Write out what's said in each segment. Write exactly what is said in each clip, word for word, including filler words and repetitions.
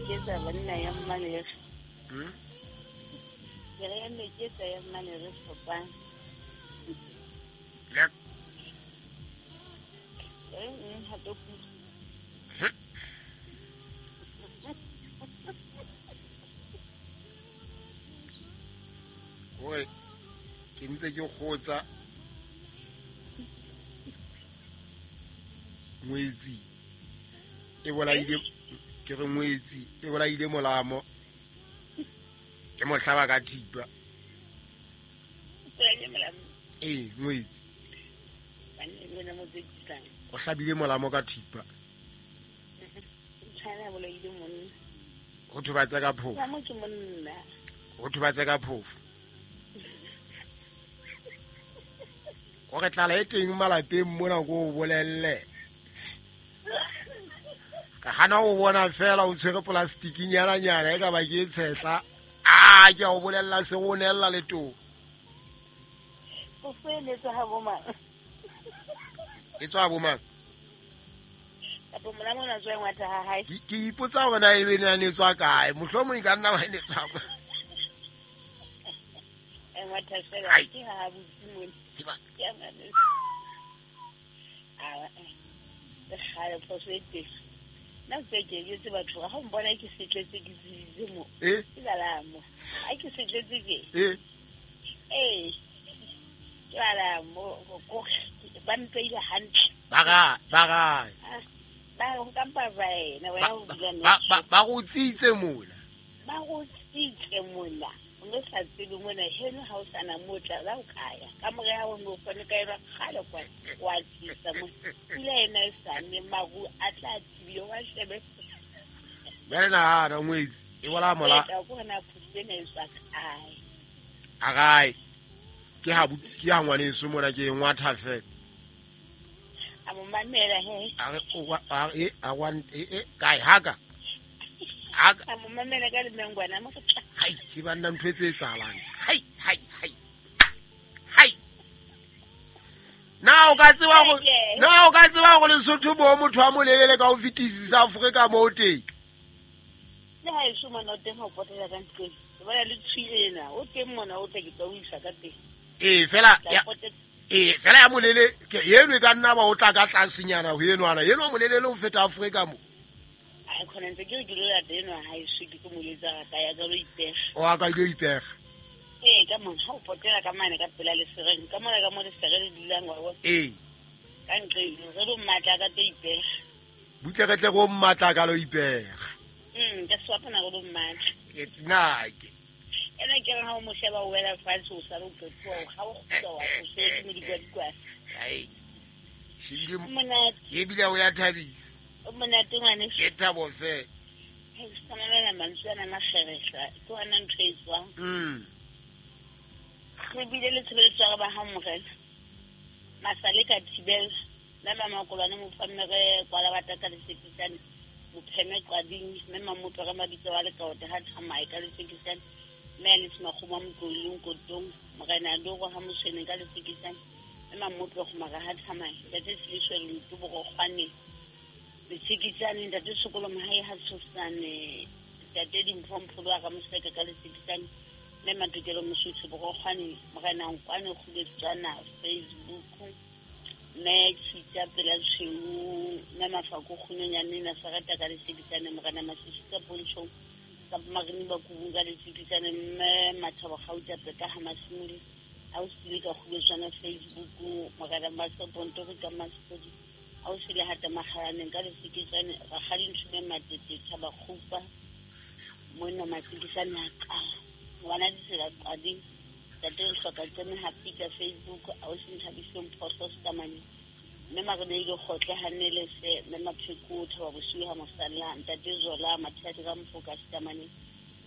Meketsa banna ya mmalere. Hmm? Ke re ya meketsa ya mmalere fapang. Le. Eh, ha to ku. Oi, ke ntse ke kgotsa ngwetsi e bolaile ke re ngwetsi e bolaile molamo ke mo hlaba ka thipa. Ee, ngwetsi o hlabile molamo ka thipa. Ho thobatsa ka phofo. Ho thobatsa ka phofo. Gore tlala e teng malapeng mona ko o bolelle. Ka hana o bona fela o tshwere plastic-nyana nyana e ka ba ke tshetla. Ah, ke a o bolella se go nella leto. O feletsa ha bo mang? E tswa bo mang? Kapo molamo na tswa ngwatha ha hae. Ke ke ipotsa hore na ebe ne ne tswa kae. Mohlomong e ka nna wa ne tswa. E ngwatha fela ke ha botsi mona. Ke a mane. Ah, eh. Kgale phoso e teng. Nna tse ke jwetse batho ha o mpona ke setletse ke tsebile mo. Eh? Ke lala mo. Ha ke setletse ke. Eh? Eh. Ke lala mo ko ba mpeile hantle. Ba ga, ba ga. Ba go kampa ba ena wena o dula Ba ba ba go tsitse mola. Ba go tsitse mola. O no sa tsebe mona heno ha o sana motla la o kaya. Ka more ha o no fane ka ira kgale kwa wa tsitsa mo. Pula ena e sane maru a tla tibile wa shebe. Bjale nahana ngwetsi e bola mola. Ka go na phutse e tswa kae. A kae? Ke ha ke ha ngwaneso mona ke ngwatha fela. A mo mamela he. A re o a e a wa e kae haka. Haka. A mo mamela ka lemengwana mo tla. Hai, ke banna ntho e tse etsahalang. Hai, hai, hai. Hai. Na o ka tseba go na o ka tseba go Lesotho bo motho a molelele ka ho fetisisa Afrika mo teng. Le ha e soma no teng ho potela ka ntlong. Ke bona le tshwile ena, o teng mona o tla ke tla o isa ka teng. Eh fela ya eh fela ya molele ke eno e ka nna ba o tla ka tlasenyana ho enwana. Eno molelele o feta Afrika mo. Ai khona ntse ke re ke lo lata eno ha e se ke tlo mo letsa ka ya ka lo ipega. O a ka lo ipega. Eh ka mona ha o potela ka mane ka pela lesereng ka mona ka mo lesere le dulang wa bona. Eh. Ka ntle re lo mmatla ka tlo ipega. Butle re tle go mmatla ka lo ipega. Mm ka swapana go lo mmatla. Ke nna ke. Ena ke re ha o mo sheba o wela fatshe o sala o qetwa o ga o kgutla wa o se ke medikwadikwa. Ai. Shebile monate. Ke bile o ya thabisa. O monate ngwane. Ke thabo fe. He se mamela mantswe ana makgerehla ke ona ntho e tswang. Mm. Re bile le tshebeletso ya ba ha morena. Masale ka thibela la mama kolwane mo famere kwala batata le sekisane bopheme qading mme mamotlo ka mabitso wa lekaote ha thamae ka lesekisane mme le smakgoma motlolong kotong morena doro ha moswene ka lesekisane mme mamotlo go mara ha thamae ntate Siliswe le bo kgwane lesekisane ntate Sokolo Mohae ha tshosane ntate Dimphompho ba ka moseka ka lesekisane mme Matokelo Mosotho bo kgwane morena Nkwane Kguletswana Facebook mme Tshita pela tshweu mme Mafako Kgonyane na Sarata ka lesekisane morena Masisi ka Pontsho ka Marini ba kubung ka lesekisane mme Mathabo Gauta peka ha Masimoli a o sile ka Kguletswana Facebook morena Maseponto ka Masipodi a o sile hata Mahalaneng ka lesekisane Rakgadi Nthume Matete Thaba Kgupa monna Masekisane a ka ngwana ditsela qading ntate re hloka tseme happy ka Facebook a o se nthabiseng phoso stamane mme Marebele kgotle hanele se mme Mapheko Thaba bosiu ha mosalla ntate Zola Mathias ka Mfoka stamane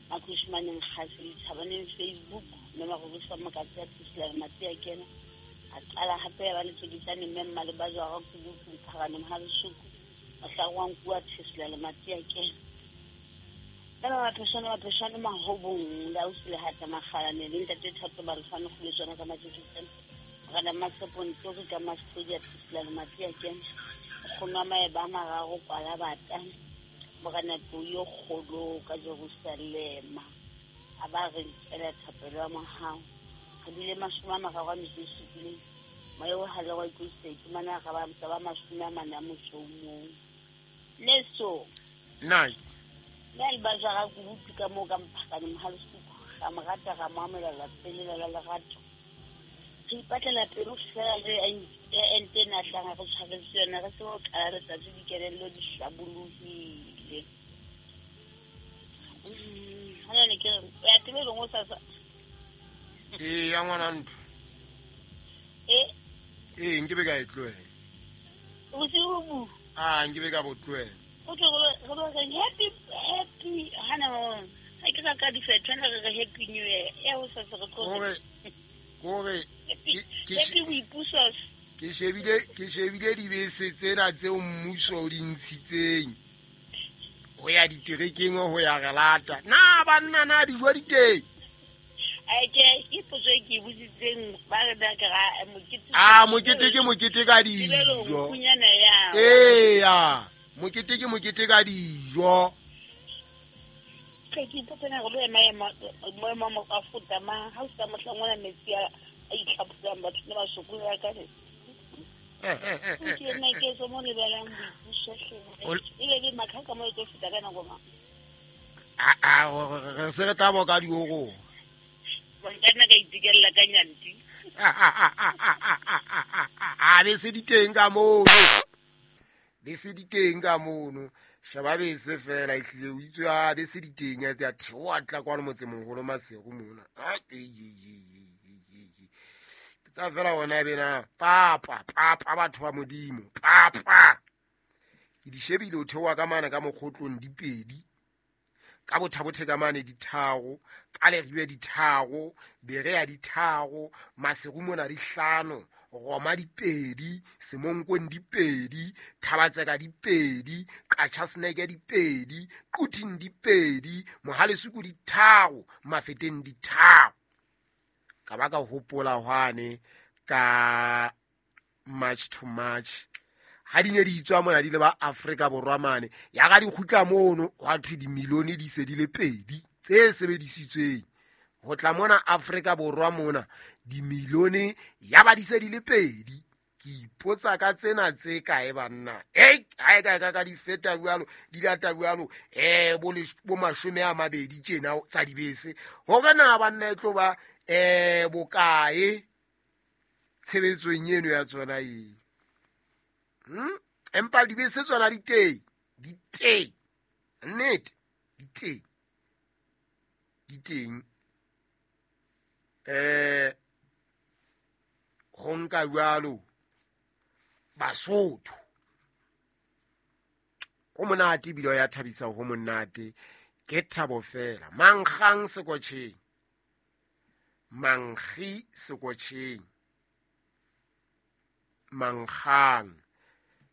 Makhushmaneng Kgase Thabaneng Facebook mme Marobusa Mokatsi a Tsisila Matsi a kena a qala hape ba le tsekisane mme Mmaleba jwa ga Kubuku Pharaneng ha Lesuku Mahlangwang kua Tsisila le Matsi a kena ba pheshana ba pheshana mahobong la o sile hata makgalane le ntate Thato ba lefana go letswana ka matsekisane morena Maseponto ka Masipodi a Tsisila le Matsi a kena go nwa maeba a mararo kwala bata Morena yo kgolo ka Jerusalema a ba re nkela thapelo ya mohau re bile mashome a mararo a metso e supileng moya o hale wa itlositse iphumana re ba ba mashome a mane a motso o mong leso nna nna le ba jara kubutu ka moo ka mphakane mohalesuku ra mo rata ra mo amohela lapeng lela la lerato re ipatlela pelo fela re ente ena hlanga re tshwaretse yona re tsebe ho qala letsatsi dikelello di hlabolohile. Hona ne ke re o ya tebelong hosasa? Ee, ya ngwana ntho. E? Ee, nkebe ka e tlohela. Bosiu bo? Ah, nkebe ka bo tlohela. O tlo re lo reng happy happy hana ha ke ka ka difetho re re happy new year ya hosasa re tlo Kore kore ke happy boipuso. Ke shebile ke shebile dibese tsena tseo mmuso o di ntshitseng ho ya diterekeng ho ya re lata. Na banna na dijo di teng? Ai ke ke potso e ke botsitseng ba re na ke ra mokete. Ah, mokete ke mokete ka dijo. Ee ya, mokete ke mokete ka dijo. Ke ke ipotsa hore lo ema ema mo mo a futa ma ha o sa mohlang ona metsi a itlhaphusang batho ne ba sokola ka le. Ke nna ke so mo lebelang boipuso hle. E be makhaka mo tlo fita ka nako mang? A a re se re tla boka dioro. Nka nna ka itikella ka nyanti. A be se diteng ka mono. Be se diteng ka mono. Sheba bese fela ehlile o itswe a bese diteng ya tsa theoha tla kwano motsemoholo Maseru mona. A e e e. Tsa fela hona bena papa papa batho ba Modimo papa. Ke di shebile o theoha ka mana ka mokgotlong di pedi. Ka bothabothe ka mane ditharo, ka leribe ditharo, bere ya ditharo, Maseru mona di hlano, Roma di pedi, Semonkong di pedi, Thabatseka di pedi, Qachaseneke di pedi, Quthing di pedi, Mohalesuku di tharo, Mafeteng di tharo. Ka ba ka hopola hwane ka March to March. Ha di ne di itswa mona di le ba Afrika Borwa mane, ya ga di kgutla mono hwa thwe dimilione di se di le pedi tse sebedisitsweng. Ho tla mona Afrika Borwa mona dimilione ya ba di se di le pedi. Ke ipotsa ka tsena tse kae banna? Ei, ha e ka ka ka di feta jwalo, di lata jwalo, eh bo bo mashome a mabedi tjena tsa dibese. Hore na banna e tlo ba eh bokae tshebetsong eno ya tsona eo? Hmm? Empa dibese tsona di teng, di teng. Nnete, di teng. Di teng. Eh ho nka jwalo Basotho. Ho monate ebile ya thabisa ho monate. Ke thabo fela. Mankgang sekotjheng. Mankgi sekotjheng. Mankgang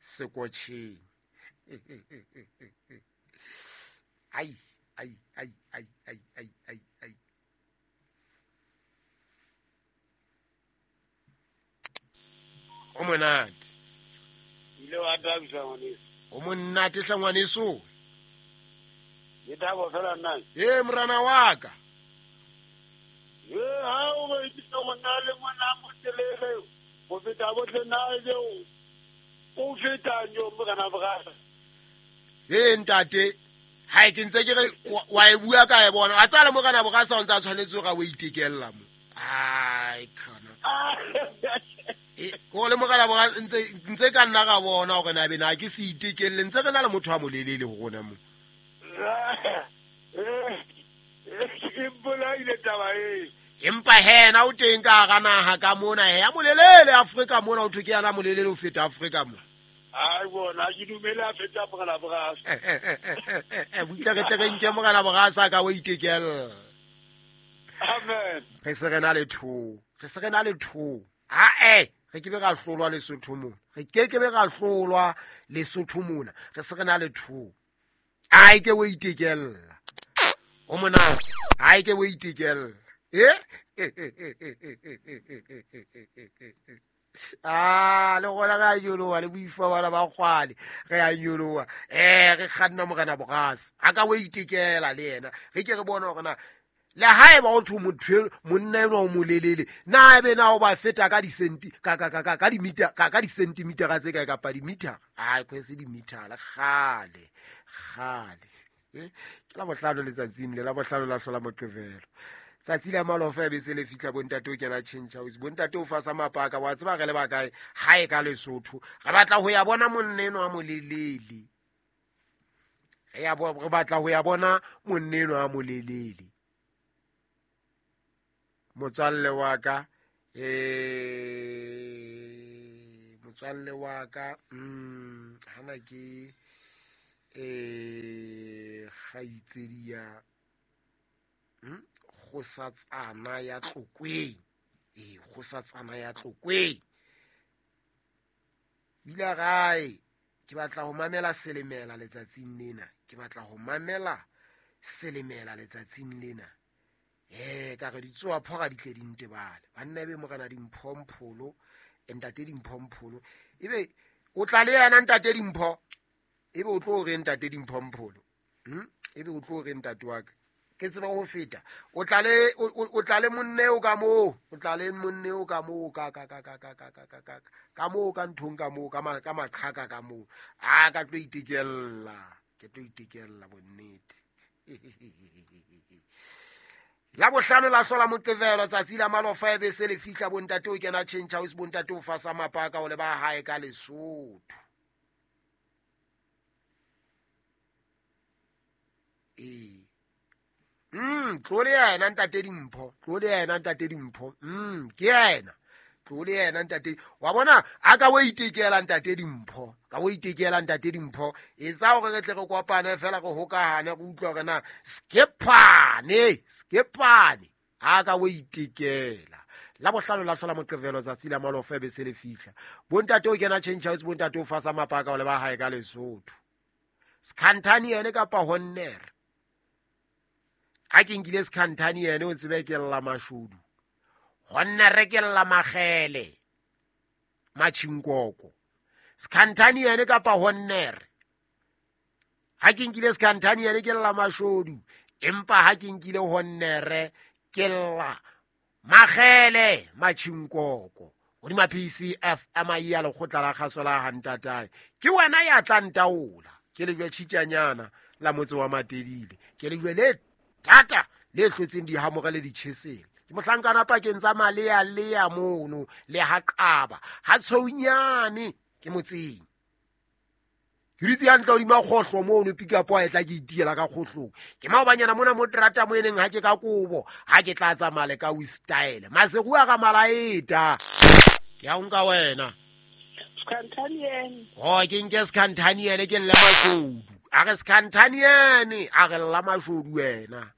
sekotjheng. Ai ai ai ai ai ai ai ai. O monate. Ile wa thabisa ngwaneso. O monate hle ngwaneso. Ke thabo fela nna. Eh morana wa ka. Eh ha o ba itse ngwana le ngwana motelele. Go feta botle na le o feta nyo morana bra. Eh ntate, ha ke ntse ke re wa e bua ka e bona. A tsala morana bra sa o ntsa tshwanetse ga o itekella mo. Ai khona. E ko le morana bra ntse ntse ka nna ga bona hore na be na ke se itekelle ntse re na le motho a molelele ho rona mo. Eh bolaile taba e. Empa hena o teng ka hara naha ka mona he a molelele Afrika mona o thwe ke yana molelele o feta Afrika mo. Ai bona ke dumela feta morana bra. Eh butla re tle re nke morana bra sa ka o itekella. Amen. Re se re na le tho, re se re na le tho. Ha eh re ke be ra hlolwa Lesotho mona. Re ke ke be ra hlolwa Lesotho mona. Re se re na le tho. Ai ke o itekella. O mona ai ke o itekella. Eh? Ah, le gona re a nyoloha le boifa bana ba kgwale re a nyoloha eh re kganna morena Borase a ka o itekela le yena re ke re bone hore na le haeba o thwe motho monna enwa o molelele na ebe na o ba feta ka disenti ka ka ka ka dimita ka ka disentimetera tse kae kapa dimithara ai kwese dimithara kgale kgale eh ke la bohlano letsatsing le la bohlano la hlola Moqebelo tsatsi la malofa be se le fihla bontate o kena change house bontate o fasa mapaka wa tseba re le ba kae hae ka Lesotho re batla ho ya bona monna enwa a molelele re ya re batla ho ya bona monna enwa a molelele motswalle wa ka eh motswalle wa ka mm hana ke eh kgaitsedi ya mm kgosatsana ya Tlokweng eh kgosatsana ya Tlokweng bila gae ke batla ho mamela Selemela letsatsing lena ke batla ho mamela Selemela letsatsing lena eh ka re ditsoa phora di tle di ntebale banna ebe morena Dimpho Mpholo ntate Dimpho Mpholo ebe o tla le yena ntate Dimpho ebe o tlo re ntate Dimpho Mpholo hm ebe o tlo re ntate wa ka ke tseba ho feta o tla le o tla le monne o ka moo o tla le monne o ka moo ka ka ka ka ka ka ka ka ka moo ka nthong ka moo ka ka maqhaka ka moo a ka tlo itekella ke tlo itekella bonnete la bohlano la hlola Moqebelo tsatsi la malofa ebe se le fihla bontate o kena change house bontate o fasa mapaka o le ba hae ka Lesotho eh mm tlo le yena ntate Dimpho tlo le yena ntate Dimpho mm ke yena tlo le yena ntate wa bona a ka o itekela ntate Dimpho ka o itekela ntate Dimpho etsa hore re tle re kopane fela re hokahane re utlwa hore na skepane skepane a ka o itekela la bohlano la hlola Moqebelo tsatsi la malofa ebe se le fihla bontate o kena change house bontate o fasa mapaka o le ba hae ka Lesotho Skhantani yene kapa Honner a ke nkile Skhantani yene o tsebe ke lla mashodu Honner ke lla magele machinkoko Skhantani yene kapa Honner ha ke nkile Skhantani yene ke lla mashodu empa ha ke nkile Honner ke lla magele machinkoko hodima P C F M I ya lekgotla la kgaso la hantatae ke wena ya tla ntaola ke lejwe tjhitjanyana la motse wa Matedile ke lejwe le tata le hlotseng dihamoga le ditjhesele ke mohlankana pakeng tsa malea lea mono le haqaba ha tshounyane ke motseng ke ditse hantle hodima kgohlo mono pick up a etla ke itiela ka kgohlong ke maobanyana mona mo terata mo eneng ha ke ka kobo ha ke tla tsamaya le ka we style Maseru a ga malaeta ke a nka wena Skhantani oh ke nke Skhantani ene ke lle mashodu a re Skhantani ene a re lla mashodu wena.